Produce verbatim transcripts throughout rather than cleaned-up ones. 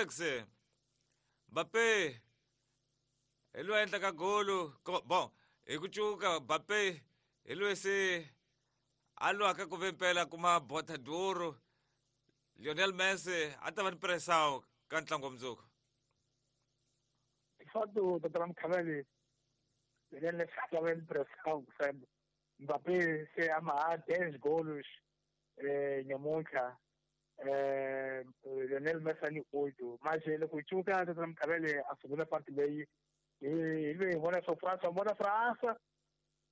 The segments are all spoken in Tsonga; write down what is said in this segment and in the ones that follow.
Felix Mbappé hi loyi a endlaka golo bon hi ku cuka Mbappé hi loyi se a lwaka ku ve mpela kuma Bota d'Oro Lionel Messi a ta va ni pressão ka ntlangu wa mundzuku. De fato, doutor Mkhaveli, Lionel Messi a ta va ni pressão sempre. Mbappé se amarrar dez golos eh, nyamuntlha eh, Lionel Messi ni oito. Mas loko hi cuka doutor Mkhaveli a segunda parte leyi hi loyi hi vona leswaku Fransa vona Fransa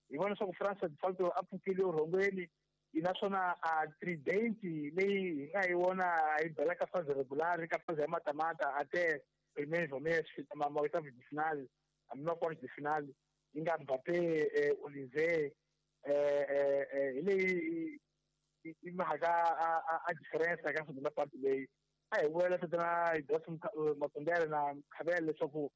hi vona leswaku Fransa de fato a pfukile rhongweni naswona a trident leyi hi nga yi vona yi bela ka phase regular ka phase ya matamata até primeiro mês ma oitavo de final a mesma quarta de final yi nga Mbappé Olise hi leyi yi mhaka a diferença ka segunda parte leyi a hi vuyela tatana Ibrahim Makondele na Mkhavele leswaku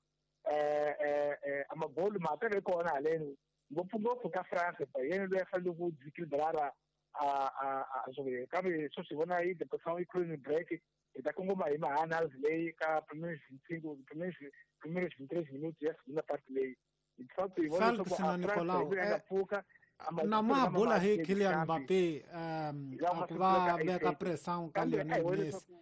a magolu ma ta ve kona haleni ngopfungopfu ka France yena loyi a fanele ku desequilibrar a a a jogo kambe sweswi hi vona yi depressão yi khuleni break hi ta kongoma hi ma-analysis leyi ka primeiros vinte e cinco primeiros primeiros vinte e três minutos ya segunda parte leyi de fato hi vona leswaku a France hi nga pfuka na ma bula hi Kylian Mbappé um a ku va veka pressão ka Lionel Messi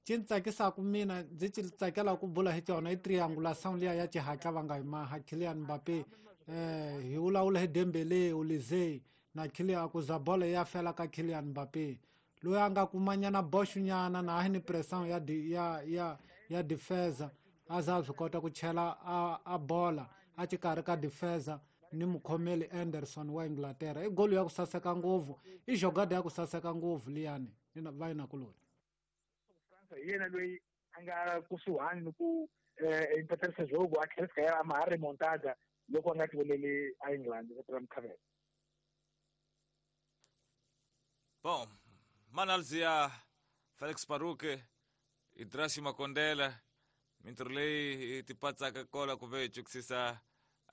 xi ni tsakisaka mina ndzi xi tsakela ku bula hi tona i triangulation liya ya xihatla va nga yi maha Kylian Mbappé eh hi vulavula hi Dembele Olise na Kylian ku za bolo ya fela ka Kylian Mbappé loyi a nga kumanyana boxunyana na a hi ni pressão ya ya ya ya defensa a za swi kota ku chela a, a bola a xikarhi ka defensa ni mukhomeli Anderson wa Inglaterra i golo ya ku saseka ngopfu i jogada ya ku saseka ngopfu liyani va yi nakuloni. Hi yena loyi a nga kusuhani ni ku empaterisa jogo a tlhela fika ya ma remontada loko a nga tivoneli a England va Mkhavele. Bom, manalzia Felix Paruke Idrasi Makondela mintirho leyi ti patsaka kola ku ve cukisisa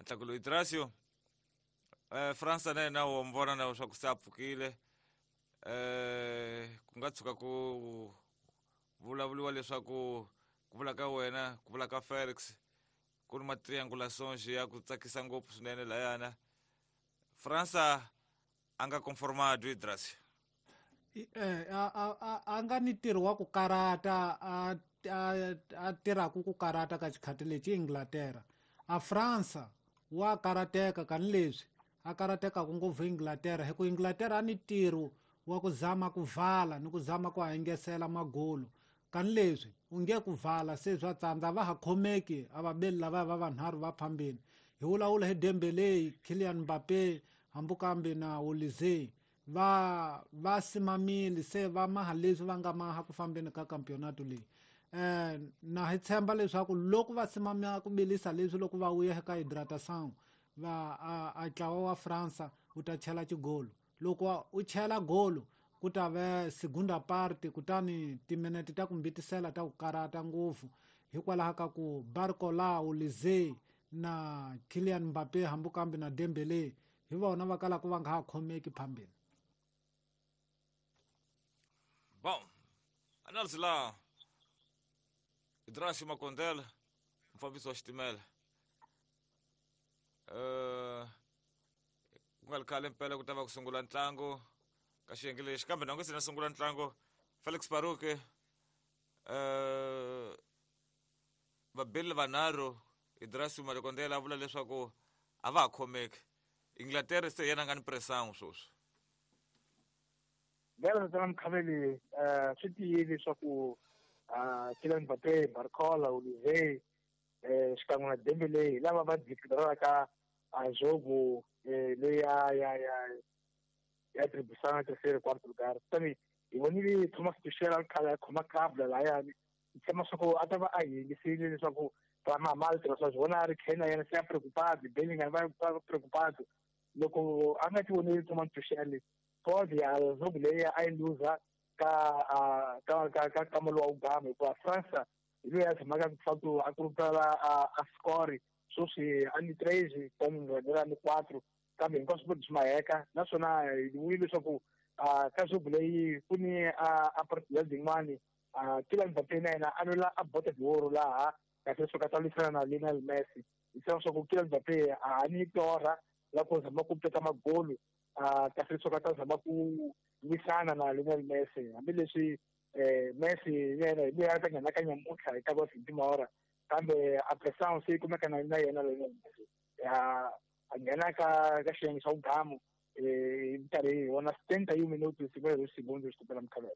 ntlangu lowu Idrasio eh Fransa na yena wo vona na leswaku se a pfukile eh ku nga tshuka ku vulavuriwa leswaku ku vula ka wena ku vula ka Felix ku ri ma triangulations ya ku tsakisa ngopfu swinene layana Fransa a nga conformado Idrasio eh a a a nga ni ntirho wa ku karata a a tirhaka ku karata ka xikhati lexi Inglaterra a Fransa wa karateka kani leswi a karatekaka ngopfu Inglaterra hi ku Inglaterra a ni ntirho wa ku zama ku vala ni ku zama ku hangesela magolo kani leswi u nge ku vala se swa tsandza va ha khomeki a vabeli lava va vanharhu va phambeni hi vulavula hi Dembele Kylian Mbappé hambi kambe na Olise va va simamile se va maha leswi va nga maha ku fambeni ka campeonato leyi eh na hi tshemba leswaku loko va simamia ku bilisa leswi loko va vuya eka hydratation va a ntlawa wa Fransa wu ta chela xigolo loko u chela golo ku ta ve segunda parte kutani timinete ta ku mbitisela ta ku karata ngopfu hikwalaho ka ku Barcola Olise na Kylian Mbappé hambi kambe na Dembele hi vona va kalaka va nga ha khomeki phambeni. Bom, análise lá Idrasio Makondela mfambisi wa xitimela eh ku nga ri khale mpela ku ta va ku sungula ntlangu ka xiyenge lexi kambe na nga se na sungula ntlangu Felix Paruke eh vabeli vanharhu Idrasio Makondela a vula leswaku a va ha khomeki Inglaterra se yena nga ni pressão sweswi. Vela tana Mkhaveli eh swi tiyile leswaku Kylian Mbappé Barcola Olise eh xikan'we na Dembele hi lava va desequilibraka a jogo leyi ya ya ya ya tribusana terceiro quarto lugar kutani hi vonile Thomas Tuchel a khale a khoma club layani hi tshemba swa ku a ta va a yingisile leswaku va tirhisa swi vona a ri Kane na yena se a preocupado Bellingham va va preocupado loko a nga ti voneli Thomas Tuchel pode a jogo leyi a yi luza ka ka ka ka kamelo wa ugama hikuva Fransa hi loyi a tshamaka ku a kurupela a score sweswi a ni três kutani ni quatro kambe hinkwaswo swi maheka naswona hi vuyile leswaku ka jogo leyi ku ni a partida yin'wani Kylian Mbappé na yena a lwela a Bota d'Oro laha kasi leswaku a ta lwisana na Lionel Messi. Hi tiva leswaku Kylian Mbappé a ni torha la ku zama ku teka magolu kasi leswaku a ta zama ku lwisana na Lionel Messi, hambileswi Messi yena hi loyi a ta nghena ka nyamuntlha hi ta va fifty mahora, kambe a pressão se yi kumeka na na yena Lionel Messi a nghena ka ka xiyenge xa vugamu hi karhi hi vona setenta e um minutos cinquenta e dois segundos tupela Mukhavela.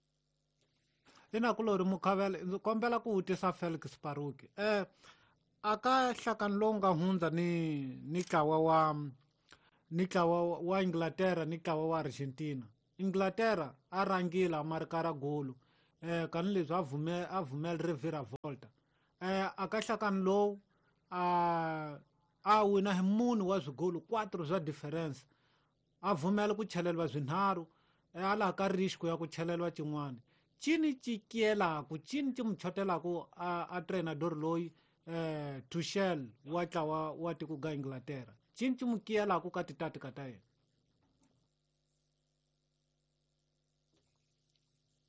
Inakulori Mukhavela, ndzi kombela ku vutisa Felix Paruki. Eh aka nhlakano lowu nga hundza ni ni ntlawa wa ni ntlawa wa Inglaterra ni ntlawa wa Argentina. Inglaterra a rhangile a marika golo eh kanileswi a vume a vumela reviravolta. Eh aka nhlakano lowu a a wina hi munhu wa swigolo quatro swa difference. A vumela ku cheleriwa swinharhu a laha ka risk ya ku cheleriwa xin'wana. Cini cikielaku cini ci muchotelaku a a treinador loyi eh Tuchel wa tlawa wa tiko ga Inglaterra. Cini ci mukielaku ka titatika ta yena.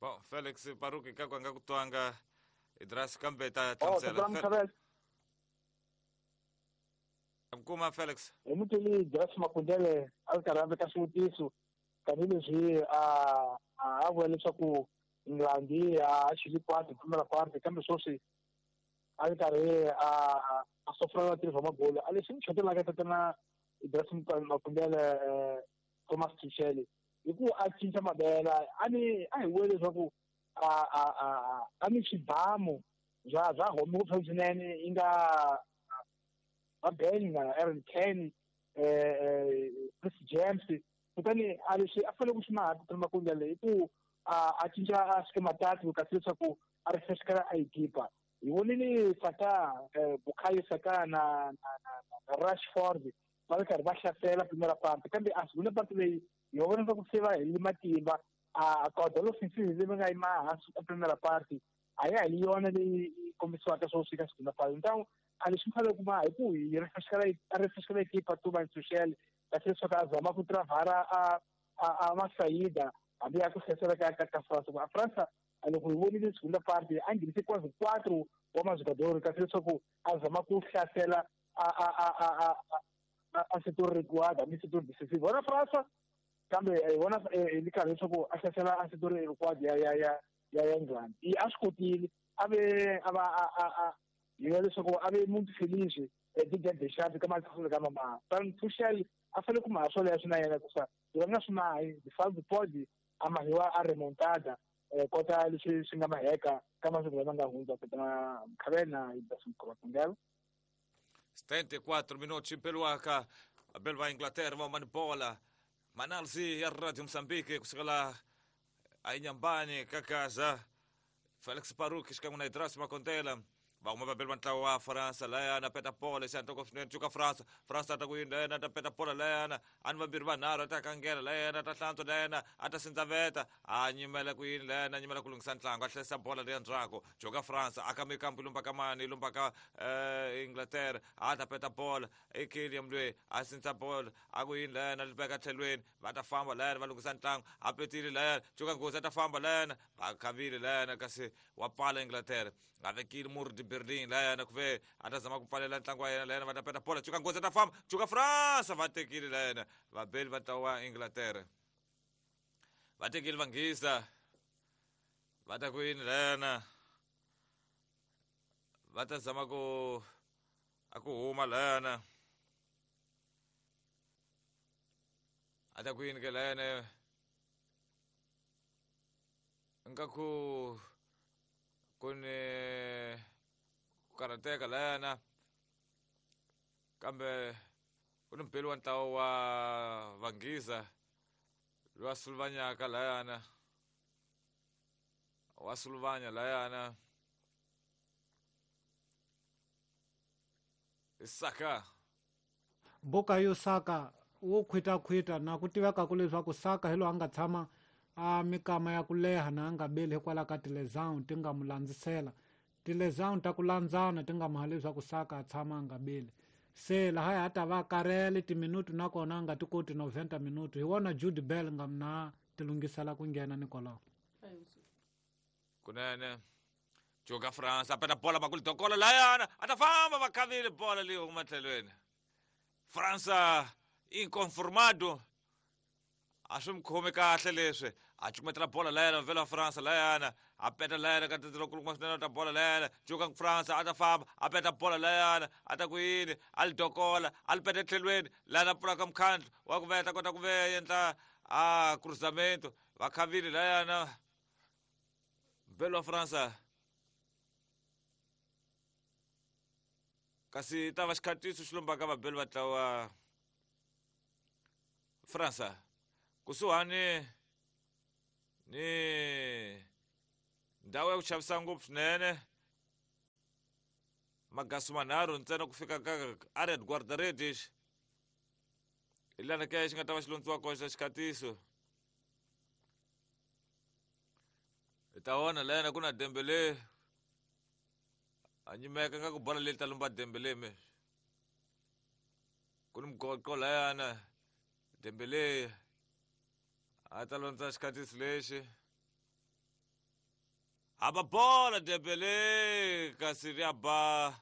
Bom, Felix Paruki ka kwanga kutwanga Idras kambe ta Oh, hlamusela. Kuma Felix. Hi muteli Idras Makundele a ri karhi a veka swivutiso tanihileswi a a vula leswaku England a xili kwati primera parte, kambe sweswi a ri karhi a a sofra vatirhi va magolo. A leswi ni chotelaka tatana Idras Makundele Thomas Tuchel hi ku a cinca mavela a ni a hi vule leswaku a a a a ni swibamu bya bya home ngopfu swinene yi nga va Ben na Aaron Kane eh Chris James, kutani a leswi a fanele ku swi maha tatana Makundele hi ku a a cinca a schema tactico kasi leswaku a refreshkela a ekipa. Hi vonile Saka Bukayo Saka na na Rashford va ri karhi va hlasela primera parte, kambe a segunda parte leyi hi vona leswaku se va helile matimba. A caudal offensive leyi nga yima hansi ka primera parte a ya hi yona leyi kombisiwaka sweswi ka segunda parte. Então a leswi fanele ku ma hi ku hi refreshkela a refreshkela ekipa Thomas Tuchel kasi leswaku a zama ku travara a a masayida hambi ya ku hlasela ka ka ka France. A França loko hi vonile segunda parte a nghenise quase quatro wa majogador kasi leswaku a zama ku hlasela a a a a a a setor recuado, a setor decisivo. Vona França kambe hi vona hi karhi leswaku a hlasela a setor recuado ya ya ya ya England. I a swi kotile a ve a va a a hi vona leswaku a ve muntu feliz Didier Deschamps ka matlhelo ka mama. Tuchel a fanele ku maha swoleswo na yena ku sa hi nga swi mahi de fato pode a mahiwa a remontada kota leswi swi nga maheka ka masiku lama nga hundza tatana Mkhavela Idras Makundele. setenta e quattro minuti peluaka abelwa Inglaterra va manibola Manalzi ya Radio Mozambique kusukela ainyambani kakaza Felix Paruki xikan'we na Idras Makondela va huma va beliwa ntlawa wa Faransa layana peta bola xana toko swinene cuka Fransa Fransa ta ku yini layana ta peta bola layana ani vambirhi vanharhu a ta kangela layana ta hlantswa layana a ta sindzaveta a nyimela ku yini layana a nyimela ku lunghisa ntlangu a hlayisa bola leya ndzhaku cuka Fransa a ka mikambu yi lumba ka mani yi lumba ka Inglaterra a ta peta bola i Kylian loyi a sindza bola a ku yini layana li veka tlhelweni va ta famba layana va lunghisa ntlangu a petile layana cuka nghozi a ta famba layana va khavile layana kasi wa pfala Inglaterra a vekile Murdi Berlin layana ku ve a ta zama ku pfalela ntlangu wa yena layana va ta peta bola cuka nghozi a ta famba cuka Fransa va tekile layana vabeli va ntlawa wa Inglaterra va tekile vanghisa va ta ku yini layana va ta zama ku a ku huma layana a ta ku yini ke layana nga ku ku ni ku karhateka layana kambe ku ni mpeli wa ntlawa wa vanghisa loyi a suluvanyaka layana wa suluvanya layana Saka Bukayo Saka wo khwitakhwita na ku tiveka ku leswaku Saka hi loyi a nga tshama a mikama ya ku leha na a nga beli hikwalaho ka tilesão ti nga mu landzisela tilesão ta ku landzana ti nga maha leswaku Saka a tshama a nga beli se laha a ta va karele timinutu nakona a nga ti koti noventa minuto hi wona Jude Bellingham na ti lunghisela ku nghena ni kwalaho kunene. Joga França, peta bola makulu dokola layana, atafamba vakavile bola liyo kumatlhelweni. França inconformado. A swi mi khomi kahle leswi. A cukumetela bola layana vela França layana, a peta layana ka tindlela kuluma swinene ta bola layana, joka França a ta famba, a peta bola layana, a ta ku yini, a li dokola, a li peta etlhelweni, layana pfulaka mukhandlu wa ku veta kota ku ve endla a cruzamento, vakhavile layana. Vela França. Kasi ta va xikhatiso xi lombaka vabeli va ntlawa França. Kusuhani ni ndhawu ya ku xavisa ngopfu swinene magasu manharhu ntsena ku fika ka Ared Guardaredes hi lana ke xi nga ta va xi londziwa kona xa xikhatiso. Hi ta vona layana ku na Dembele a nyimeka nga ku bola leyi ta lomba Dembele me ku ni mugoqo layana Dembele a ta londza xikhatiso lexi. Hava bola Dembele kasi ri ya ba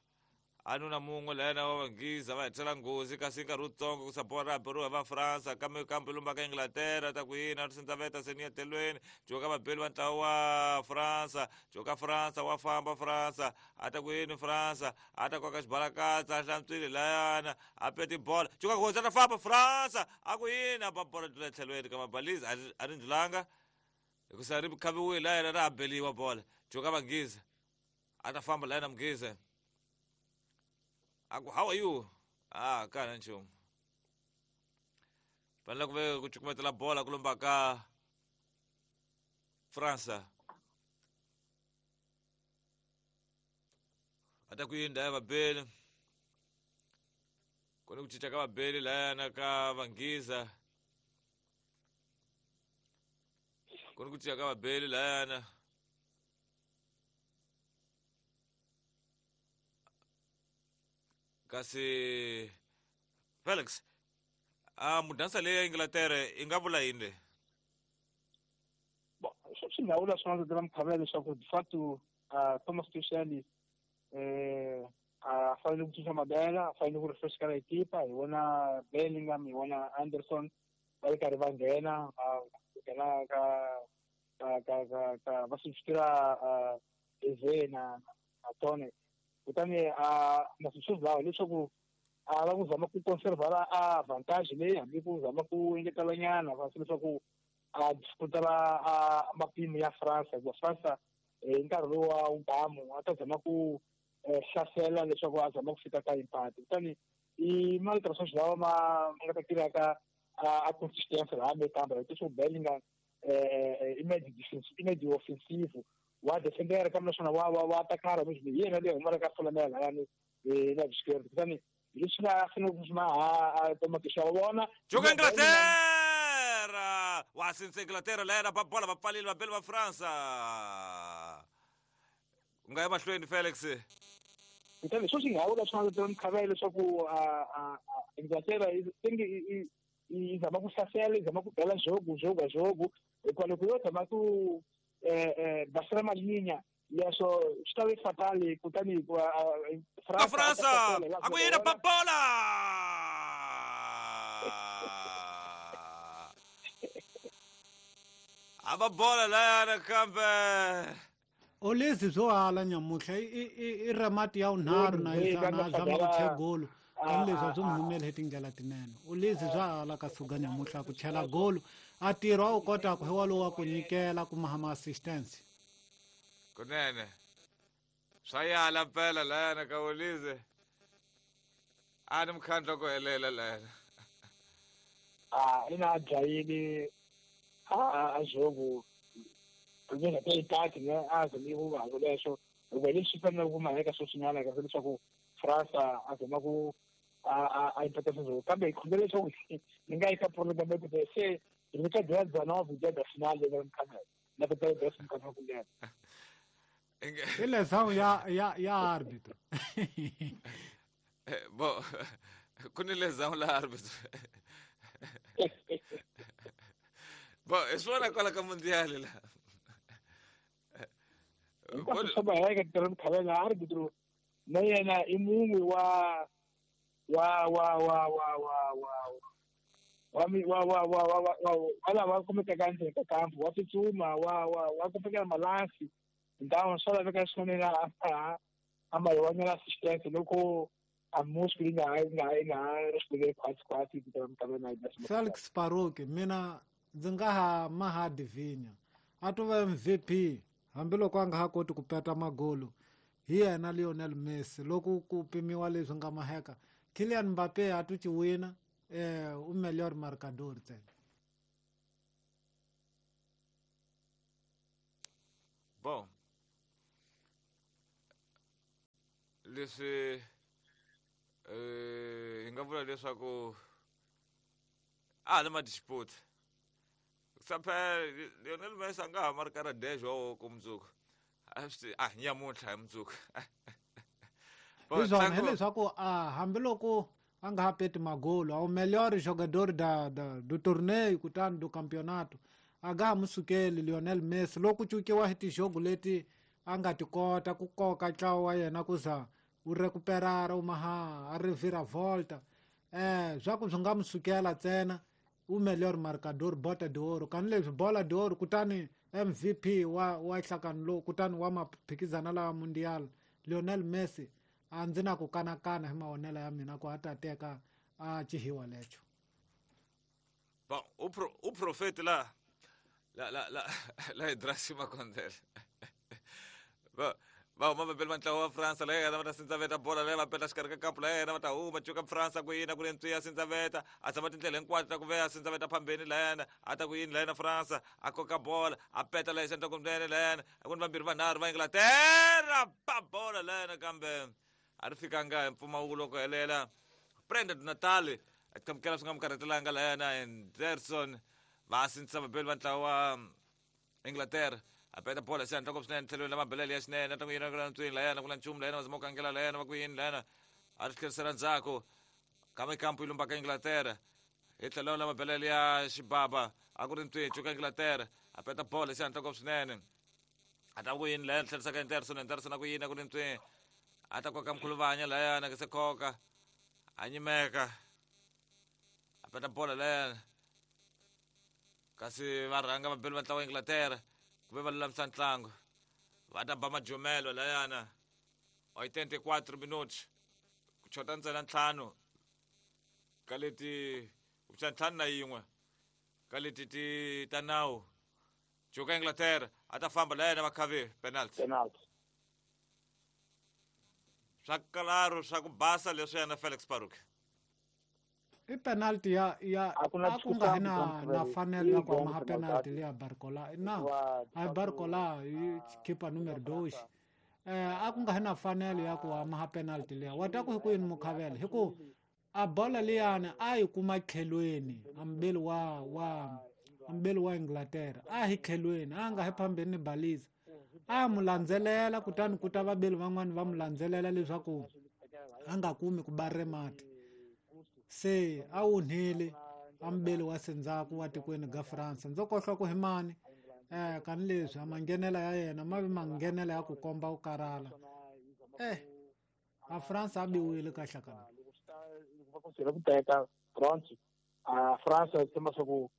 a nuna mun'we layana wa Vanghiza va hetisela nghozi kasi nkarhi wutsongo ku sa bola ra beriwa va Fransa kambe kambe lumba ka Inglaterra ta ku yini a ri sindzaveta seni etelweni joka vabeli va ntlawa wa Fransa joka Fransa wa famba Fransa a ta ku yini Fransa a ta koka xibalakatsa a hlantswile layana a peti bola joka nghozi a ta famba Fransa a ku yini a ba bola dlula etlhelweni ka mabalizi a ri ndlulanga hikusa ri khaviwile layana ra ha beliwa bola joka Vanghiza a ta famba layana Mughiza. Aku, how are you? Ah, kana nchumu. Fanele ku ve ku cukumetela bola ku lomba ka Fransa. A ta ku yini ya vabeli. Ku ni ku cinca ka vabeli layana ka Vanghiza. Ku ni ku cinca ka vabeli layana. Kasi Felix, a mudansa leyi ya Inglaterra i nga vula yini leyi? Bon, swi nga vula swona ndzi mukhavela leswaku de facto Thomas Tuchel eh a fanele ku cinca mabela, a fanele ku refresh ka ekipa, hi vona Bellingham, hi vona Anderson va ri karhi va nghena, va nghena ka ka ka ka ka va substitute Eze na na Tone. Kutani a masweswi lawa leswaku a va ku zama ku conservar a vantage leyi hambi ku zama ku engetela nyana va leswaku a disputela a mapimo ya Fransa hikuva Fransa hi nkarhi lowu wa wugamu a ta zama ku hlasela leswaku a zama ku fika ka impact. Kutani i malterations lawa ma nga ta tirhaka a consistence laha me kambe leswaku Bellingham i made defensive i made offensive wa defender kambe naswona wa wa wa atakara hi yena leyi humelaka folamela layani na vuxikeri. Kutani hi leswi nga fanele ku swi maha Thomas Tuchel wa vona Joka Inglaterra wa sinse Inglaterra layana ba bola va pfalile vabeli va Fransa. U nga ya mahlweni Felix. Kutani swo swi nga vula swona leswi mukhavela leswaku Inglaterra yi yi zama ku hlasela yi zama ku bela jogo jogo jogo hikuva loko yo zama ku eh eh basela malinha leswo swi ta ve fatale kutani hikuva Ka Fransa a ku yini ba bola a ba bola layana kambe Olezi byo hala nyamuhla i i i remati ya unharhu na yizana zama ku chela golo kambe leswi a swi n'wi humele hi tindlela tinene. Olezi bya hala ka suka nyamuhla ku chela golo a tirha a wu kotaka hi walowu wa ku nyikela kuma hama assistance. Kunene swa yala mpela layana ka Olize a ni mukhandla ku helela layana. A ina dlayile a a jogo nga ta itaki ne a zami ku va leswo hikuva leswi fanele ku maheka sweswinyana ka leswaku Fransa a zama ku a a impata sweswo kambe hi khongela leswaku ni nga yi ka prolongamento se ri ka dya dezanove dia da final le mukhamela na ku ta dya mukhamela ku nghena i lesão ya ya ya árbitro. Bo ku ni lesão la árbitro. Bo hi swona kwala ka mundial la. Hinkwaswo swa maheka tata Mkhavela arbitro na yena i mun'we wa wa wa wa wa wa wa wa wa wa wa wa wa wa lava kumekaka endzeni ka kampu wa tsutsuma wa wa wa kumekela malansi então swa laveka swinene a a ma assistência loko a músculo yi nga ha yi nga yi nga ha respondeli khwatsi khwatsi tata Mkhavela. Felix Paroki mina ndzi nga ha maha Divinya a to va M V P hambiloko a nga ha koti ku peta magolo hi yena Lionel Messi loko ku pimiwa leswi nga maheka Kylian Mbappe a to ci wina eh o melhor marcador ntsena. Bom, leswi eh hi nga vula leswaku a ni ma dispute saphela Lionel Messi a nga ha markara dez wa ku mundzuku a swi a nyamuntlha hi mundzuku. Hi swona hileswaku a hambiloko a nga ha peti magolo o melhor jogador da, da do torneio kutani do campeonato a nga ha mu sukeli Lionel Messi loko cukiwa hi tijogo leti a nga ti kota ku koka ntlawa wa yena ku za wu recuperara u maha a reviravolta eh swa ku swi nga mu sukela ntsena o melhor marcador bota de ouro kani leswi bola de ouro kutani M V P wa wa nhlangano lowu kutani wa maphikizana lawa mundial Lionel Messi a ndzi na ku kanakana hi mavonelo ya mina ku a ta teka a cihiwa lecho. Bom, o pro, o profeta lá la la la la Idrasi Makondele. Va va uma bel mantla wa França la yena va sindzaveta bola la va peta xikarhi ka kampu la yena va ta huma cuka França ku yina ku le ntswiya sindzaveta a tshama tindlela hinkwato ta ku veya sindzaveta phambeni la yena a ta ku yini la yena França a koka bola a peta la xandla kunene la yena a ku ni vambirhi vanharhu va Inglaterra pa bola la yena kambe a ri fikanga hi mpfumawulo ku helela Prenda do Natal a qhamukela swi nga mu karhatelanga la yena Anderson va sindzisa vabeli va ntlawa wa Inglaterra a peta bola xandla ku swinene tlhelweni la mabelele ya xinene ta ku yina ku ntswini la yena ku na nchumu la yena va zama ku kangela la yena va ku yini la yena a ri tlherisela ndzhaku kambe kampu yi lumbaka Inglaterra hi tlhelo la mabelele ya xibaba a ku ri ntswini cuka Inglaterra a peta bola xandla ku swinene a ta ku yini la yena tlherisaka Anderson Anderson a ku yini a ku ri ntswini a ta koka mkhuluvanya la yena ke se koka a nyimeka a peta bola la yena kasi va rhanga vabeli va ntlawa wa Inglaterra ku ve va lulamisa ntlangu va ta ba majomelo layana oitenta e quatro minutos ku chota ntsena ntlhanu ka leti kumbexana ntlhanu na yin'we ka leti ti ta nawu cuka Inglaterra a ta famba la yena va khavi penalty penalty swa kalaro swa ku basa leswiyana Felix Paroki. I penalty ya ya A ku na a ku nga na discussion, na fanelo ya ku Yi maha penalty liya Barcola na a Barcola yi keeper numero dois eh a ku nga na fanelo ya ku maha penalty liya wa ta ku hi ku yini mukhavela hi ku a bola liyani a yi kuma tlhelweni ambeli wa wa ambeli wa Inglaterra a hi tlhelweni a nga hi phambeni ni baliza a mu landzelela kutani ku ta vabeli van'wani va mu landzelela leswaku a nga kumi ku ba mati se a wunhile ambeli wa sendzaku wa tikweni ga France ndzo kohlwa ku hi mani eh kani leswi a manghenela ya yena ma vi manghenela ya ku komba ku karhala eh a France a biwile kahle kana va ku teka bronze a France tshemba swa ku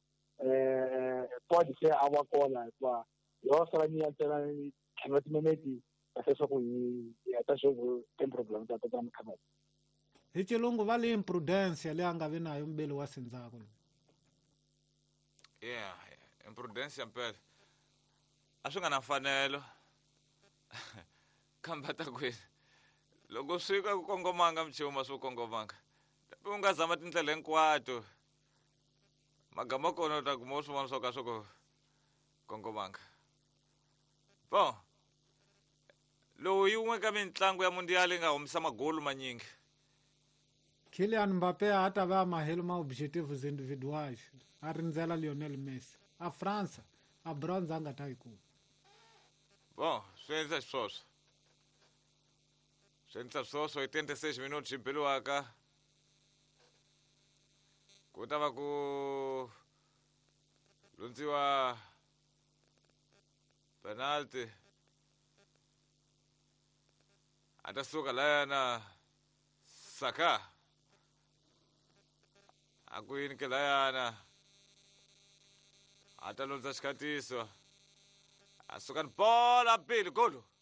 eh pode ser a wa kona hikuva yo sala ni ya ntsena ntlhanu wa timinete kahle swa ku hi heta xo tem problem ta ta Mkhavela. Hi xilungu va le imprudence leyi a nga vi nayo mbeli wa sendzaku. Yeah, imprudence mpela a swi nga na mfanelo kambe a ta kwini loko swi ka ku kongomanga mchumu swi kongomanga u nga zama tindlela hinkwato magama kona u ta kuma swin'wana swo ka swi ku kongomanga. Bon, lowu yin'we ka mitlangu ya mundial yi nga humesa magolu manyingi Kylian Mbappé a ta va mahelo ma objetivos individuais a rindzela Lionel Messi a França a bronze a nga ta yi kuma. Bon, swi endla xiswoswo swi endla swoswo hi twenty six minutos yi beliwaka ku ta va ku lundziwa penalty A ta suka layana Saka. A ku yini ke layana. A ta londza xikhatiso. A suka ni bola pili golo.